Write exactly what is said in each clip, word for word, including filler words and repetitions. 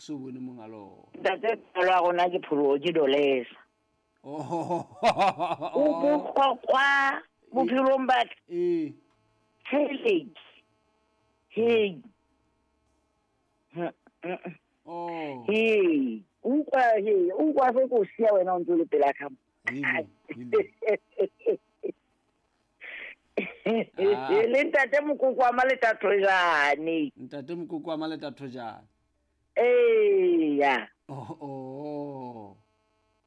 so bone monga lona. Ntate tsalo ya rona ke pholoho ke dolesa. Oh. O bohlokwa bophelong ba ka. Ee. Tshele. Hey. Oh. Hey. Utlwa he, utlwa se ko siya wena o ntse o le pela ka mo. Hele, hele. Ah. Le ntate Mokoko wa Maletathojane. Ntate Mokoko wa Maletathojane. Eya. Oh, oh.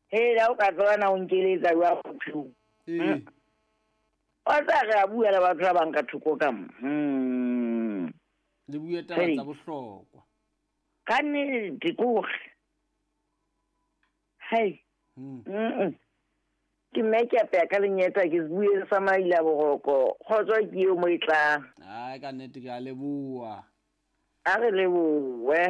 He la o ka tswana o nkeletsa jwa bophelong. Ee. Wa tsa re a bua le batho ba bang ka thoko ka mo. Hmm. Le bue taba tsa bohlokwa. Ka nnete ke hore. Hai. Hmm. Mm. Ke mme ke apeya ka lenyeta ke se bue sa maila boroko. Kgotso ke eo mo e tlang. Ai ka nnete ke a leboha. A re lebohe.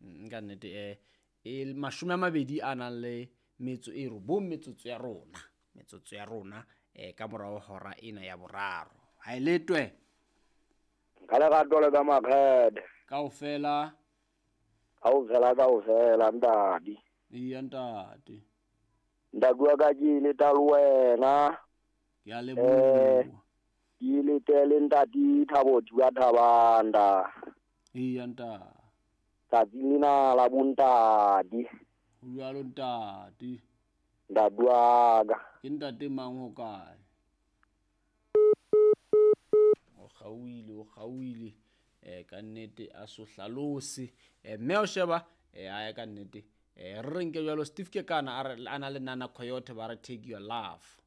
Mm, ka nnete eh e mashome a mabedi a nang le metso e robong metsotso ya rona. Metsotso ya rona eh ka morao hora ena ya boraro. Ha e letwe. Ka lerato le ka makgede. Kaofela. Kaofela kaofela ntate. Iya ntate. Ntate wa ka ke ile ta le wena. Ke a leboha. Ke ile tele ntate Thabo Jua Thabanda. Iya ntate. Tsatsi lena la bontate. Ho jwalo ntate. Ntate wa ka. Ke ntate mang ho kae? O kgauile, o kgauile. Eh ka nnete a so hlalose. Eh mme o sheba eh a ka nnete. Eh re nke jwalo Steve ke kana a re ana le Nana Coyote ba re take your love.